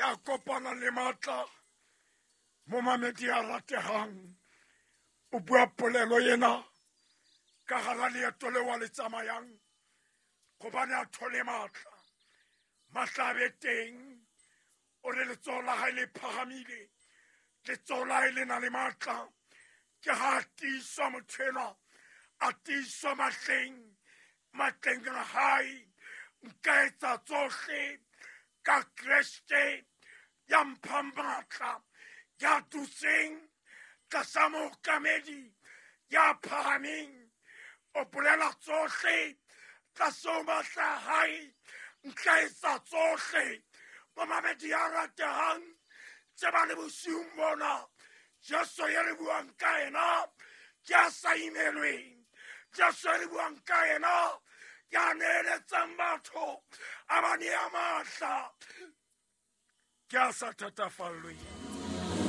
Ya kopanang le matla, momamedi ya ratehang, o bua polelo ena ka hara leeto leo a le tsamayang, gobane a thole matla. Matla a be teng, o re letsoho la hae le phahamile, letsoho la hae le na le matla. Ke ha a tiiswa motho enwa, a tiiswa matleng, matleng a hae. Nka etsa tsohle ka Kreste ya mphang matla, ya dutseng tlasa mookamedi ya phahameng. O bolela tsohle tlase ho matla a hae, nka etsa tsohle. Momamedi ya ratehang, tseba le bosiung bona, Jesu ye re buang ka yena ke a sa imelweng. Jesu ye re buang ka yena ke a neeletsang batho, a ba nea matla, ke a sa thatafallweng.